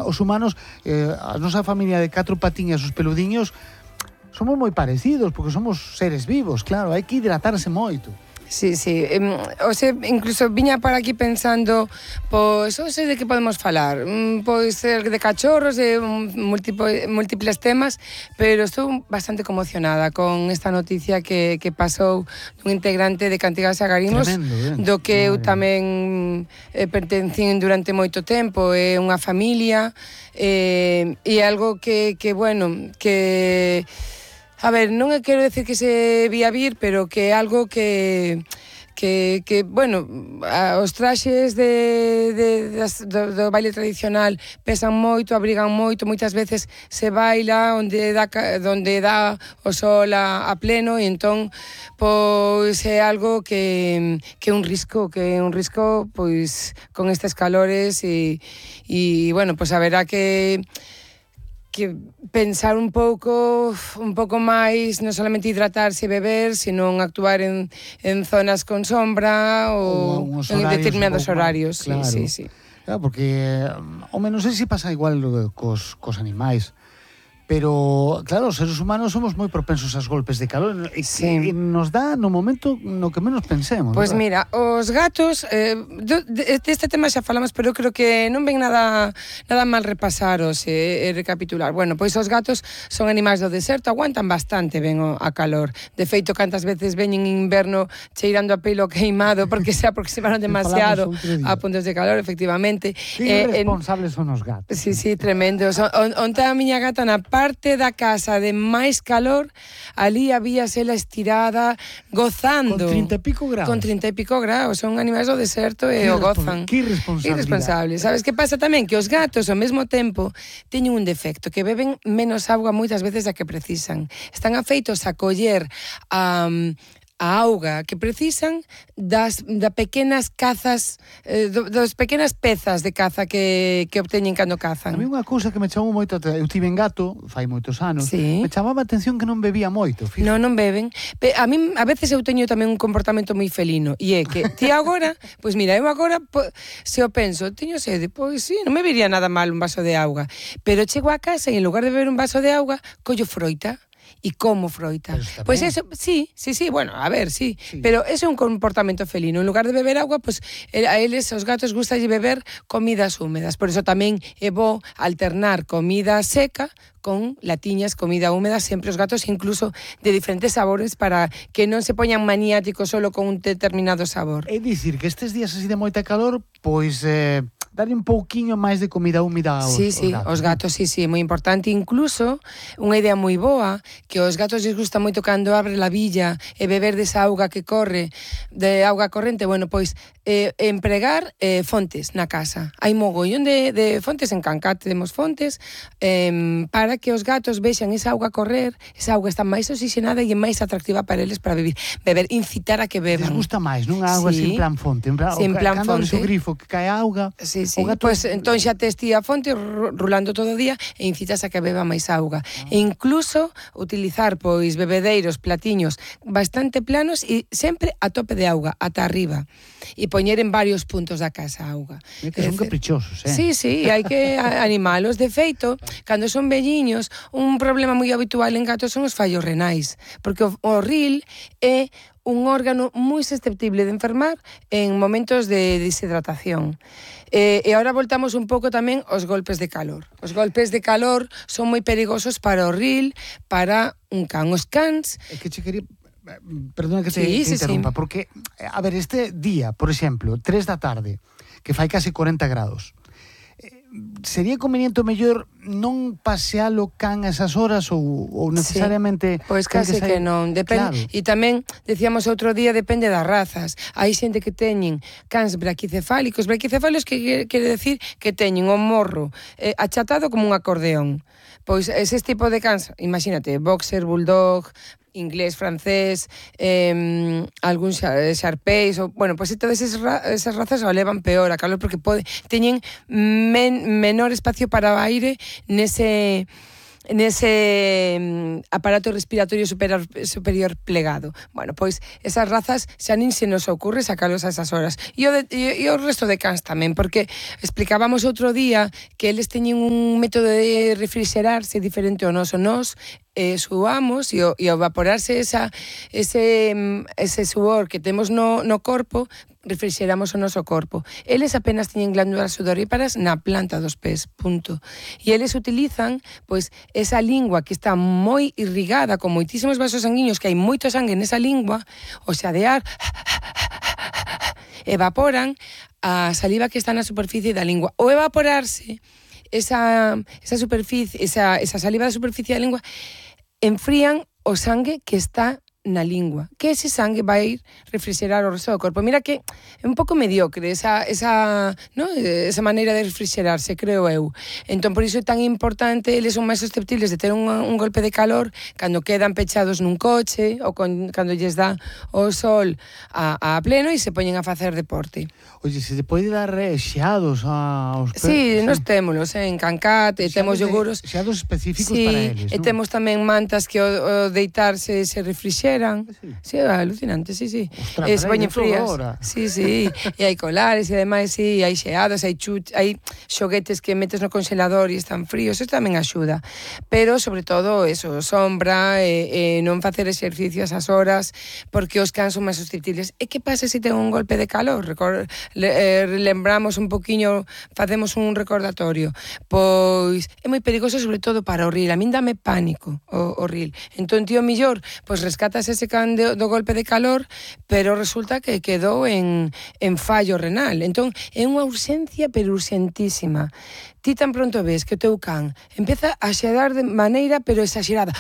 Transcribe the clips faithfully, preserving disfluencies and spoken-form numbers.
os humanos, eh, a nosa familia de catro patiñas, os peludiños, somos moi parecidos, porque somos seres vivos, claro, hai que hidratarse moito. Sí, sí. Eh, o sea, incluso viña para aquí pensando, pois, non sei de que podemos falar, pois ser de cachorros, de múltiples, múltiples temas, pero estou bastante conmocionada con esta noticia que, que pasou dun integrante de Cantigas e Agarimos. Tremendo, do que eu tamén eh, pertencín durante moito tempo, é eh, unha familia, eh, e algo que, que, bueno, que... A ver, non quero decir que se vía vir, pero que é algo que... Que, que, bueno, os traxes de, de, das, do, do baile tradicional pesan moito, abrigan moito, moitas veces se baila onde dá, onde dá o sol a, a pleno, e entón, pois, é algo que, que é un risco, que é un risco, pois, con estes calores, e, e bueno, pois haberá que... que pensar un pouco un pouco máis, non solamente hidratarse e beber, sino actuar en, en zonas con sombra ou, ou en determinados horarios. Claro. Sí, sí, sí. Claro, porque, home, non sei se pasa igual cos, cos animais, pero, claro, os seres humanos somos moi propensos aos golpes de calor e, sí. e nos dá no momento no que menos pensemos. Pois pues mira, os gatos, eh, deste de tema xa falamos, pero eu creo que non ven nada nada mal repasaros e, e recapitular. Bueno, pois os gatos son animais do deserto, aguantan bastante ben o, a calor. De feito, cantas veces veñen en inverno cheirando a pelo queimado porque se aproximaron demasiado a puntos de calor, efectivamente. Que irresponsables eh, son os gatos. Sí, sí, tremendos. Onte a miña gata na parte da casa de máis calor, ali habíase ela estirada, gozando. Con trinta e pico graus. Con trinta e pico graus, son animais do deserto e o gozan. Que irresponsabilidade. Irresponsable. Sabes que pasa tamén? Que os gatos, ao mesmo tempo, teñen un defecto, que beben menos auga moitas veces da que precisan. Están afeitos a coller a... Um, a auga que precisan das da pequenas cazas, eh, do, das pequenas pezas de caza que, que obteñen cando cazan. A mí unha cousa que me chamou moito, eu tive en gato, fai moitos anos, sí. me chamaba a atención que non bebía moito. Fíjate. Non, non beben. A mí, a veces eu teño tamén un comportamento moi felino, e é que ti agora, pois mira, eu agora, po, se o penso, teño sede, pois sí, non me viría nada mal un vaso de auga, pero chego a casa e en lugar de beber un vaso de auga, collo froita. E como froita. Pois pues eso, sí, sí, sí, bueno, a ver, sí, sí. Pero ese é un comportamento felino. En lugar de beber agua, pues a eles, os gatos, gustalle beber comidas húmedas. Por eso tamén é bo alternar comida seca con latiñas, comida húmeda, sempre os gatos incluso de diferentes sabores para que non se poñan maniáticos solo con un determinado sabor. É dicir que estes días así de moita calor, pois... Eh... darle un pouquiño máis de comida húmida aos, sí, sí, aos gatos. Os gatos, sí, sí, moi importante. Incluso, unha idea moi boa, que aos gatos les gusta moito cando abre la villa e beber desa auga que corre, de auga corrente, bueno, pois, eh, empregar eh, fontes na casa. Hai mogollón de, de fontes, en Cancat temos fontes, eh, para que os gatos vexan esa auga correr, esa auga está máis oxigenada e máis atractiva para eles para beber, beber, incitar a que beban. Les gusta máis, non a auga sí. sin plan fonte, en plan, sin plan cando fonte. Cando o grifo que cae auga... Sí, sí, gato... pues entón xa tes ti a fonte rulando todo o día e incitas a que beba máis auga. Ah. E incluso utilizar pois bebedeiros, platiños bastante planos e sempre a tope de auga, ata arriba. E poñer en varios puntos da casa a auga. É que son caprichosos, eh? Sí, sí, hai que animalos. De feito, cando son velliños, un problema moi habitual en gatos son os fallos renais, porque o, o ril é un órgano moi susceptible de enfermar en momentos de deshidratación. Eh, e agora voltamos un pouco tamén aos golpes de calor. Os golpes de calor son moi perigosos para o ril, para un can. Os cans... É que che quería... Perdona que te, sí, te sí, interrumpa, sí. Porque, a ver, este día, por exemplo, tres da tarde, que fai casi corenta grados, sería conveniente o mellor non pasealo can a esas horas ou, ou necesariamente... Sí, pois case que, que non, depende. Claro. E tamén, decíamos outro día, depende das razas. Hai xente que teñen cans braquicefálicos. Braquicefálicos que quere decir que teñen o morro eh, achatado como un acordeón. Pois ese tipo de cans, imagínate, boxer, bulldog, inglés, francés, eh, algún xarpéis, ou, bueno, pois pues, todas esas, ra esas razas o levan peor a calor porque pode, teñen men menor espacio para o aire nese nese mm, aparato respiratorio superior, superior plegado. Bueno, pois esas razas xa nin se nos ocurre sacalos a esas horas. E o, de, e, e o resto de cans tamén, porque explicábamos outro día que eles teñen un método de refrigerarse diferente ao noso. Nos eh, suamos e o, e ao evaporarse esa, ese, ese suor que temos no, no corpo, refrigeramos o noso corpo. Eles apenas teñen glándulas sudoríparas na planta dos pés, punto. E eles utilizan, pois, esa lingua que está moi irrigada con moitísimos vasos sanguíneos, que hai moito sangue nesa lingua, o xadear, evaporan a saliva que está na superficie da lingua. O evaporarse, esa, esa superficie, esa, esa saliva da superficie da lingua, enfrían o sangue que está na lingua, que ese sangue vai ir refrigerar o resto do corpo. Mira que é un pouco mediocre esa, esa, ¿no? esa maneira de refrigerarse, creo eu. Entón, por iso é tan importante, eles son máis susceptibles de ter un, un golpe de calor cando quedan pechados nun coche ou con, cando lles dá o sol a, a pleno e se poñen a facer deporte. Oye, se te pode dar eh, xeados aos perros? Sí, nos témolos, eh, en Cancat, e temos yoguros. Xeados específicos sí, para eles, e non? temos tamén mantas que o, o deitarse se refrixeran. Sí, sí, alucinante, sí, sí. Ostras, E se poñen frías. Ahora. Sí, sí, e hai colares, e ademais, sí, hai xeados, hai chut, hai xoguetes que metes no congelador e están fríos, eso tamén axuda. Pero, sobre todo, eso, sombra, e, e non facer exercicio a esas horas, porque os cans son máis susceptibles. E que pasa se ten un golpe de calor? Recor le, eh, lembramos un poquinho, facemos un recordatorio. Pois é moi perigoso, sobre todo para o ril. A min dame pánico o, o ril. Entón, tío millor, pois rescatas ese can de, do golpe de calor, pero resulta que quedou en, en fallo renal. Entón, é unha urxencia, pero urxentísima. Ti tan pronto ves que o teu can empeza a xeadar de maneira, pero exagerada,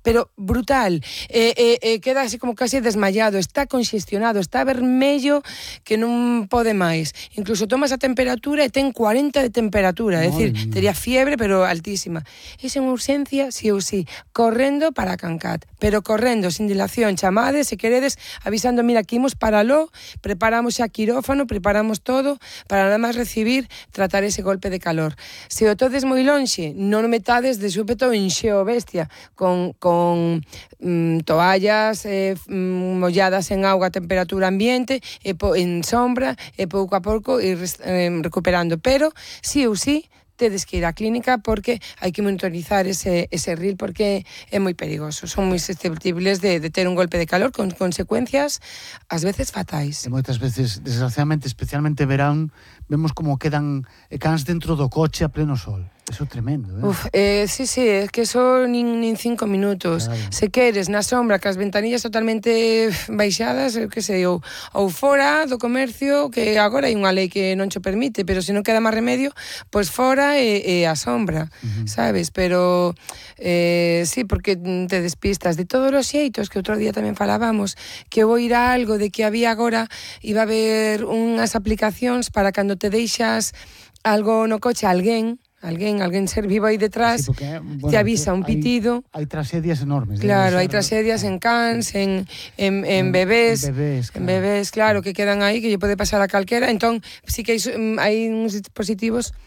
pero brutal, e, e, e queda así como casi desmayado, está conxestionado, está vermello que non pode máis. Incluso tomas a temperatura e ten cuarenta de temperatura, é dicir, tería fiebre, pero altísima. Esa é unha urxencia, sí ou sí, correndo para Cancat, pero correndo, sin dilación, chamades, se queredes, avisando, mira, aquí imos para lo, preparamos xa quirófano, preparamos todo, para nada máis recibir, tratar ese golpe de calor. Se o todes moi lonxe, non o metades de súpeto en xeo bestia, con, con con mm, toallas eh, molladas en auga a temperatura ambiente, e po, en sombra, e pouco a pouco ir eh, recuperando. Pero, sí ou sí, tedes que ir á clínica porque hai que monitorizar ese, ese ril porque é moi perigoso. Son moi susceptibles de, de ter un golpe de calor con consecuencias ás veces fatais. E moitas veces, desgraciadamente, especialmente verán, vemos como quedan cans dentro do coche a pleno sol. Eso é tremendo, eh? Uf, eh, sí, sí, é que son nin, nin cinco minutos. Claro. Se queres, na sombra, cas ventanillas totalmente baixadas, eu que sei, ou, ou fora do comercio, que agora hai unha lei que non cho permite, pero se non queda máis remedio, pois fora e, e a sombra, uh-huh. sabes? Pero, eh, sí, porque te despistas. De todos os xeitos, que outro día tamén falábamos, que vou ir a algo de que había agora, iba a haber unhas aplicacións para cando te deixas algo no coche, alguén, Alguén, alguén ser vivo aí detrás, sí, porque, bueno, te avisa un pitido. Hai, hai tragedias enormes. Claro, hai tragedias en cans, en, en, en bebés, en bebés, claro. en bebés, claro, que quedan aí, que lle pode pasar a calquera. Entón, sí que hai, hai uns dispositivos,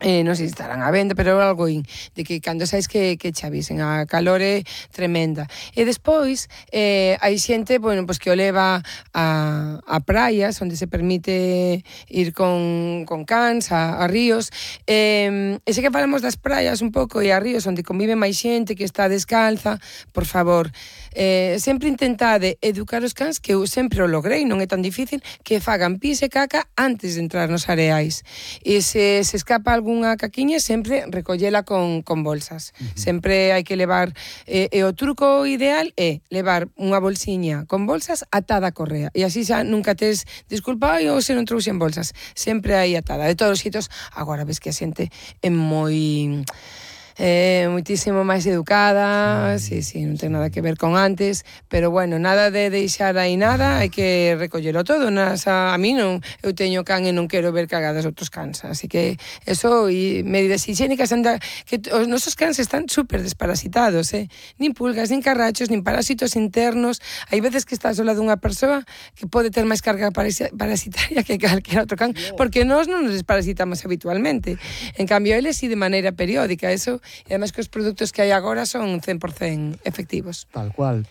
eh, non sei se estarán a venda, pero algo in, de que cando sais que, que che avisen, a calor é tremenda. E despois, eh, hai xente, bueno, pues que o leva a, a praias, onde se permite ir con, con cans, a, a ríos, eh, e se que falamos das praias un pouco e a ríos onde convive máis xente que está descalza, por favor, eh, sempre intentade educar os cans, que eu sempre o logrei, non é tan difícil, que fagan pis e caca antes de entrar nos areais. E se se escapa algunha caquiña, sempre recollela con, con bolsas. Uh-huh. Sempre hai que levar, eh, e o truco ideal é levar unha bolsiña con bolsas atada a correa, e así xa nunca tes disculpa, ou se non trouxen bolsas, sempre hai atada. De todos os xeitos, agora ves que a xente é moi... Eh, moitísimo máis educada, sí, sí, non ten nada que ver con antes, pero bueno, nada de deixar aí nada, hai que recollelo todo. Nas, a, a mí non, eu teño can e non quero ver cagadas outros cans, así que eso, e medidas higiénicas, anda, que os nosos cans están super desparasitados, eh? Nin pulgas, nin carrachos, nin parásitos internos. Hai veces que estás ao lado dunha persoa que pode ter máis carga parasitaria que calquera outro can, porque nós non nos desparasitamos habitualmente. En cambio, eles sí de maneira periódica, eso e además que os produtos que hai agora son cen por cen efectivos. Tal cual.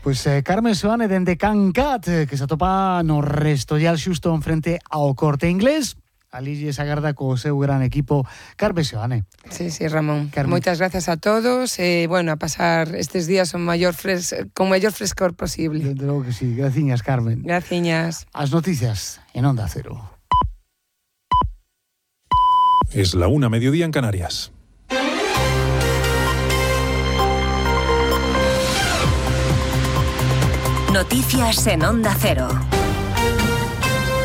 Pois eh, Carmen Seoane dende Cancat, eh, que se atopa no Restollal xusto en frente ao Corte Inglés. Ali lles agarda co seu gran equipo Carmen Seoane. Sí, sí, Ramón. Carmen. Moitas gracias a todos e, eh, bueno, a pasar estes días con maior fres con maior frescor posible. Desde logo que sí. Graciñas, Carmen. Graciñas. As noticias en Onda Cero. Es la una, mediodía en Canarias. Noticias en Onda Cero.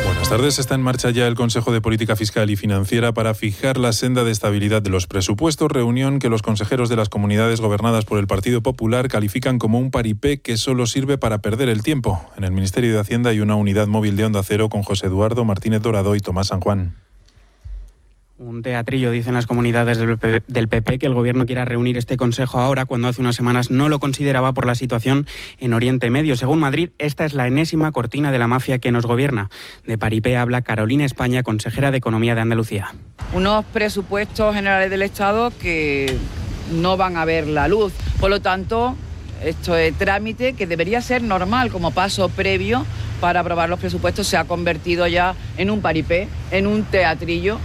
Buenas tardes. Está en marcha ya el Consejo de Política Fiscal y Financiera para fijar la senda de estabilidad de los presupuestos, reunión que los consejeros de las comunidades gobernadas por el Partido Popular califican como un paripé que solo sirve para perder el tiempo. En el Ministerio de Hacienda hay una unidad móvil de Onda Cero con José Eduardo Martínez Dorado y Tomás San Juan. Un teatrillo, dicen las comunidades del P P, que el gobierno quiera reunir este consejo ahora, cuando hace unas semanas no lo consideraba por la situación en Oriente Medio. Según Madrid, esta es la enésima cortina de la mafia que nos gobierna. De paripé habla Carolina España, consejera de Economía de Andalucía. Unos presupuestos generales del Estado que no van a ver la luz. Por lo tanto, esto es trámite que debería ser normal como paso previo para aprobar los presupuestos. Se ha convertido ya en un paripé, en un teatrillo.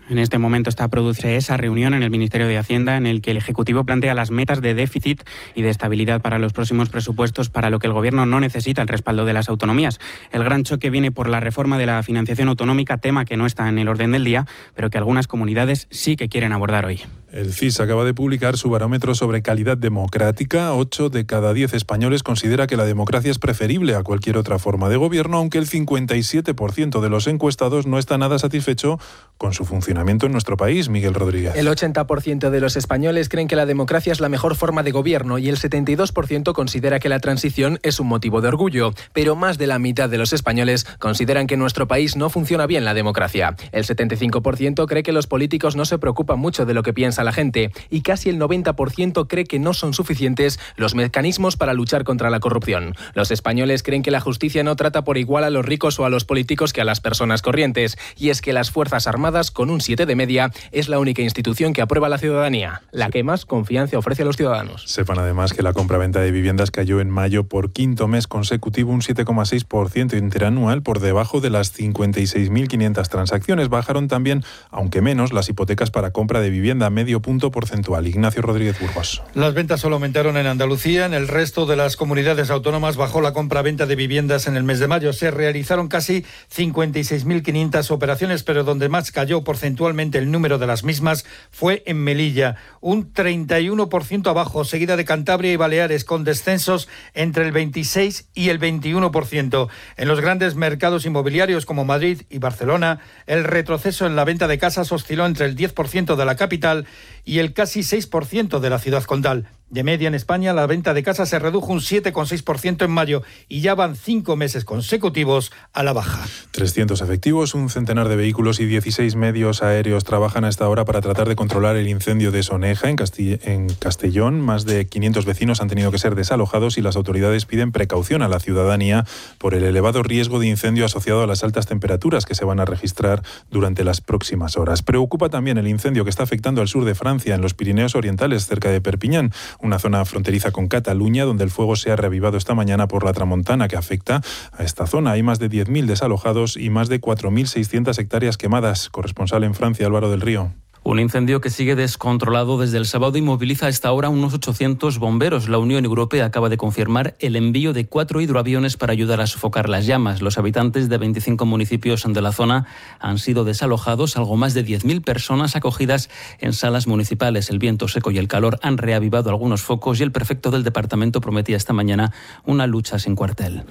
En este momento está a producirse esa reunión en el Ministerio de Hacienda en el que el Ejecutivo plantea las metas de déficit y de estabilidad para los próximos presupuestos, para lo que el Gobierno no necesita el respaldo de las autonomías. El gran choque viene por la reforma de la financiación autonómica, tema que no está en el orden del día, pero que algunas comunidades sí que quieren abordar hoy. El C I S acaba de publicar su barómetro sobre calidad democrática. Ocho de cada diez españoles considera que la democracia es preferible a cualquier otra forma de gobierno, aunque el cincuenta y siete por ciento de los encuestados no está nada satisfecho con su funcionamiento en nuestro país. Miguel Rodríguez. El ochenta por ciento de los españoles creen que la democracia es la mejor forma de gobierno y el setenta y dos por ciento considera que la transición es un motivo de orgullo. Pero más de la mitad de los españoles consideran que en nuestro país no funciona bien la democracia. El setenta y cinco por ciento cree que los políticos no se preocupan mucho de lo que piensa la gente y casi el noventa por ciento cree que no son suficientes los mecanismos para luchar contra la corrupción. Los españoles creen que la justicia no trata por igual a los ricos o a los políticos que a las personas corrientes. Y es que las Fuerzas Armadas, con un siete de media, es la única institución que aprueba la ciudadanía, la que más confianza ofrece a los ciudadanos. Sepan además que la compra-venta de viviendas cayó en mayo por quinto mes consecutivo un siete coma seis por ciento interanual, por debajo de las cincuenta y seis mil quinientas transacciones. Bajaron también, aunque menos, las hipotecas para compra de vivienda, medio punto porcentual. Ignacio Rodríguez Burgos. Las ventas solo aumentaron en Andalucía. En el resto de las comunidades autónomas bajó la compra-venta de viviendas en el mes de mayo. Se realizaron casi cincuenta y seis mil quinientas operaciones, pero donde más cayó porcentualmente el número de las mismas fue en Melilla, un treinta y uno por ciento abajo, seguida de Cantabria y Baleares, con descensos entre el veintiséis y el veintiuno por ciento. En los grandes mercados inmobiliarios como Madrid y Barcelona, el retroceso en la venta de casas osciló entre el diez por ciento de la capital y el casi seis por ciento de la ciudad condal. De media en España, la venta de casas se redujo un siete coma seis por ciento en mayo y ya van cinco meses consecutivos a la baja. trescientos efectivos, un centenar de vehículos y dieciséis medios aéreos trabajan a esta hora para tratar de controlar el incendio de Soneja, en, Castilla, en Castellón. Más de quinientos vecinos han tenido que ser desalojados y las autoridades piden precaución a la ciudadanía por el elevado riesgo de incendio asociado a las altas temperaturas que se van a registrar durante las próximas horas. Preocupa también el incendio que está afectando al sur de Francia, en los Pirineos Orientales, cerca de Perpiñán, una zona fronteriza con Cataluña, donde el fuego se ha reavivado esta mañana por la tramontana que afecta a esta zona. Hay más de diez mil desalojados y más de cuatro mil seiscientas hectáreas quemadas. Corresponsal en Francia, Álvaro del Río. Un incendio que sigue descontrolado desde el sábado y moviliza a esta hora unos ochocientos bomberos. La Unión Europea acaba de confirmar el envío de cuatro hidroaviones para ayudar a sofocar las llamas. Los habitantes de veinticinco municipios de la zona han sido desalojados, algo más de diez mil personas acogidas en salas municipales. El viento seco y el calor han reavivado algunos focos y el prefecto del departamento prometía esta mañana una lucha sin cuartel.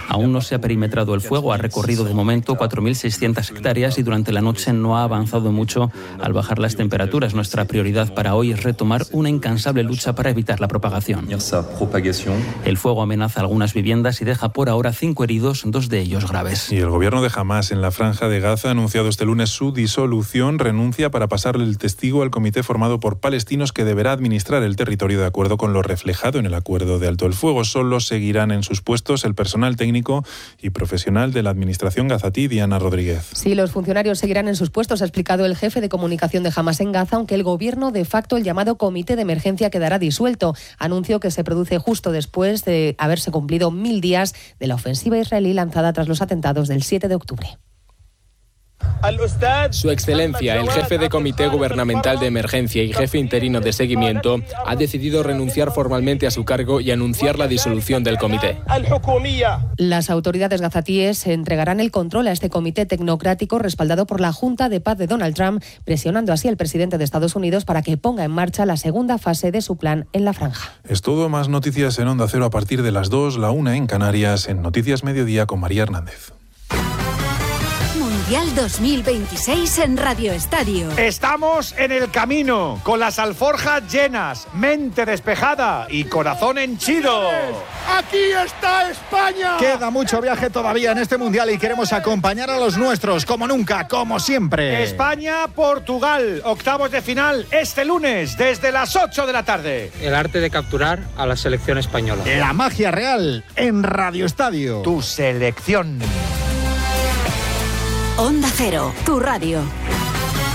Aún no se ha perimetrado el fuego, ha recorrido de momento cuatro mil seiscientas hectáreas y durante la noche no ha avanzado mucho al bajar las temperaturas. Nuestra prioridad para hoy es retomar una incansable lucha para evitar la propagación. El fuego amenaza algunas viviendas y deja por ahora cinco heridos, dos de ellos graves. Y el gobierno de Hamás en la Franja de Gaza ha anunciado este lunes su disolución, renuncia para pasarle el testigo al comité formado por palestinos que deberá administrar el territorio de acuerdo con lo reflejado en el acuerdo de alto el fuego. Solo seguirán en sus puestos el personal técnico y profesional de la administración gazatí, Diana Rodríguez. Sí, los funcionarios seguirán en sus puestos, ha explicado el jefe jefe de comunicación de Hamas en Gaza, aunque el gobierno de facto, el llamado Comité de Emergencia, quedará disuelto. Anuncio que se produce justo después de haberse cumplido mil días de la ofensiva israelí lanzada tras los atentados del siete de octubre. Su Excelencia, el jefe de Comité Gubernamental de Emergencia y jefe interino de seguimiento, ha decidido renunciar formalmente a su cargo y anunciar la disolución del comité. Las autoridades gazatíes entregarán el control a este comité tecnocrático respaldado por la Junta de Paz de Donald Trump, presionando así al presidente de Estados Unidos para que ponga en marcha la segunda fase de su plan en la franja. Es todo, más noticias en Onda Cero a partir de las dos, la una en Canarias, en Noticias Mediodía con María Hernández. Mundial dos mil veintiséis en Radio Estadio. Estamos en el camino, con las alforjas llenas, mente despejada y corazón henchido. ¡Aquí está España! Queda mucho viaje todavía en este Mundial y queremos acompañar a los nuestros, como nunca, como siempre. España-Portugal, octavos de final, este lunes, desde las ocho de la tarde. El arte de capturar a la selección española. La magia real en Radio Estadio. Tu selección. Onda Cero, tu radio.